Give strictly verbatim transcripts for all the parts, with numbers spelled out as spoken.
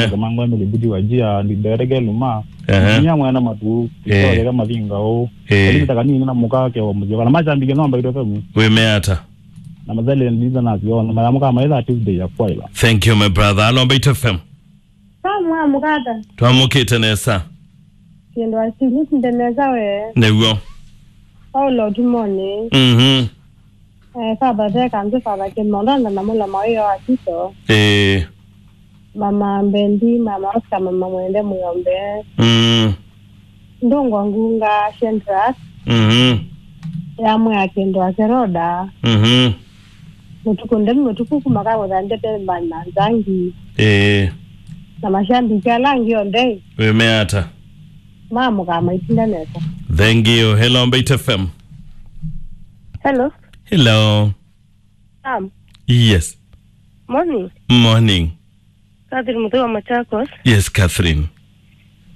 Kamangwa Emily Mbuti wa Jia, ndi Derege Luma. Ehe. Nya mwana matu, Eh. Itoyeka mavinga o. Eh. Lakini taka nini na mukake wa muzio. Kana mashabiki no mbaito femu. Wĩmea ata? Na mazali ndiza na ziona. Mara muka maitha Tuesday ya kwaila. Thank you, my brother. Alo, Mbaito F M. Samu wa mukata. Twamũkĩte nesa. Kĩndũ asili sinde nesa we. Nĩw'o. Paulo Tumoni. Mhm. Eh, Father Theka, nzi Father Kimondo, na namula mawio wa Tito. Eh. Mama Mbendi, Mama Oscar, Mama Mwende Muyombe. Mm. Ndungwa Ngunga, Shendrak. Mhm. Yamwe ya Kĩndũ Akeroda. Mhm. Mũtuku ndemi mũtuku kuma ka gũthandete mbani na nzangi. Eh. Na mashabiki ala angĩ onthe. Wĩmea ata? Mamũkaa maitinda nesa. Thank you. Hello, Mbaito F M. Hello. Hello. Sam. Yes. Morning. Morning. Catherine Muthĩ wa Machakos. Yes, Catherine.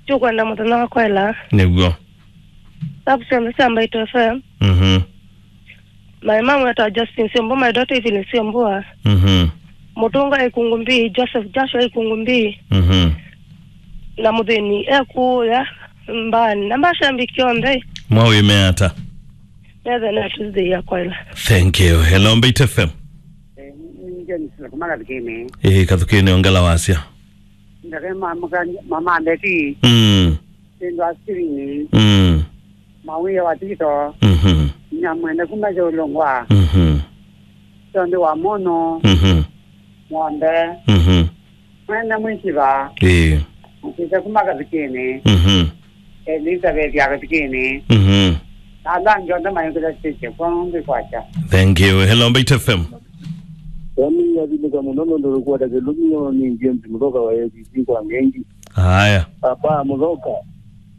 Tũkwenda mũthenya wa kwaĩla. Nĩguo. Sabu syonthe sya Mbaito F M. Mhm. My mom wetwa Justin Siombua, my daughter Evelyn Siombua. Mhm. Mũtũnga Ikungu Mbii, Joseph Joshua Ikungu Mbii. Mhm. Na mũthĩni ekuya mbani. Na mashabiki onthe. Mwawĩmea ata? Methe na Tuesday ya kwaĩla. Thank you. Hello, Mbaito F M. Eh, ni James, kuma Kathukini. Eh, Kathukini, ongela wasya. Ndake ma-, muka-, mama Mbeti. Mm. Sindwa Sirini. Mm. Mawia wa Tito. Mhm. Nyamwene kuma Jolongwa. Mhm. Siondi wa Mono. Mhm. Ng'ombe. Mhm. Mwene Mwisiva. Ĩĩ. Mũkĩte kuma Kathukini. Mhm. Elizabeth ya Kathukini. Mhm. Na ala angĩ onthe mayũkĩla stage kwa ngĩ kwacha. Thank you. Hello, Mbaito F M. Wami yathimika mũno nũndũ rũkwata kĩlũmio nĩ James Mũthoka wa A C C kwa Ngengi. Haya. Papa Mũthoka.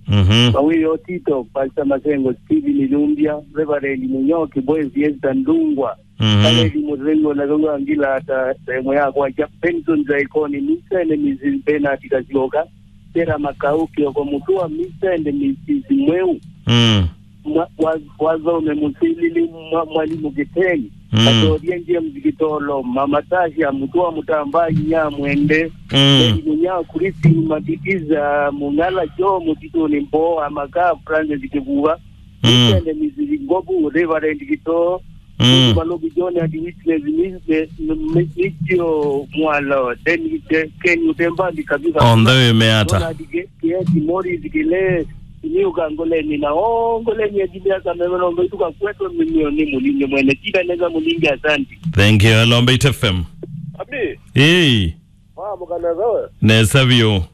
Mhm. Mawĩo Tito, Pastor Masengo, Steven Ilumbia, Reverend Munyoki, Boy Fiesta Ndungwa. Mhm. Kaleli Mũtheu, ona kau angila ata sehemu yakwa ja Benson Zaikoni, Misende Misisi Bernard Kasioka, Tera Makau, Kioko Mũtua, Misende Misisi Mweu. Mm. Mwa-, wa-, Wathome Mũsilili, mwa-, Mwalimu Kiteni, Mm. Katoria James Kitolo, Mama Tasia, Mũtua Mũtamba, Inya Mwende, Mm. Mary Munya, Christine Matikiza, Mung'ala Joe, Mũtitũnĩ Mboa, Maka, Francis Kĩvuva, Mm. Misende Misisi Ngobu, Reverend Kitoo, Mm. Maloki John and Witness Misisi, M-, M-, Mitio Mwalo, then Ke-, Ken Utembandi kabisa. Onthe wĩmea ata? Ronald Ke-, Kieti, Morris Kile, Niuka Ngoleni na o Ngoleni ya Jimmy Asa Meme Lombe, ituka kwetu mimi ni Mulinde mwene. Tita neza Mulinde, asante. Thank you. Hello, Mbaito F M. Abi. Hey. Wa mukana zawe. Nesa vyo.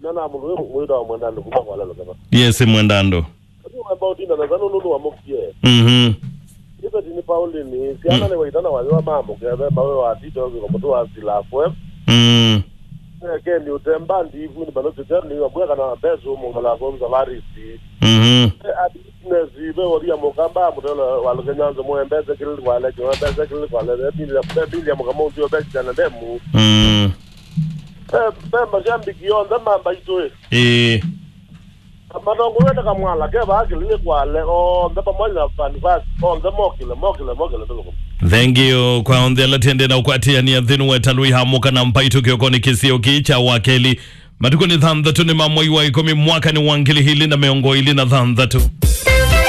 Nana mũndũ ũyũ mwĩtawa Mwendandũ kuma kwa Lalo Kema. Yes, Mwendandũ. Ũyũ wamba ũtinda na thano nũndũ wa mũkie. Mhm. Ĩveti nĩ Pauline, syana Mm. nĩ waitana wayo wa mamũkeve, mawe wa Tito, kwa mũtu wa Sila F M. Mm. Eh, Ken Utemba, Ndivu, ni Balozi John, ni wabwe kana Bezu, Mungala, Gonza, Larisi. Mhm. Eh, ati, Nesi, ve Woria Mukamba, Mutelo wa Lukenyanzo, Mwembeze, Kilili, Kwale, Mwembeze, Kilili, Kwale, Emilia, Emilia Mukamuzi, Obesi, Jana Demu. Mm. Eh, ve mashabiki onthe ma Mbaito. Ĩĩ. Matongo wete Kamwala, ke vaa Kilili Kwale, onthe pamoja na Fanfast, onthe mokile, mokile, mokile, tuko. Thank you. Kwa onthe ala tende na ũkwatĩanĩa nthĩnĩ wa ĩtalũ ĩhamũka na Mbaito kĩokonĩ kĩsio kĩĩ kya wakeli. Matukũ nĩ thanthatũ nĩ ma mwei wa ĩkũmi mwaka nĩ wa ngili ilĩ na mĩongo ĩlĩ na thanthatũ.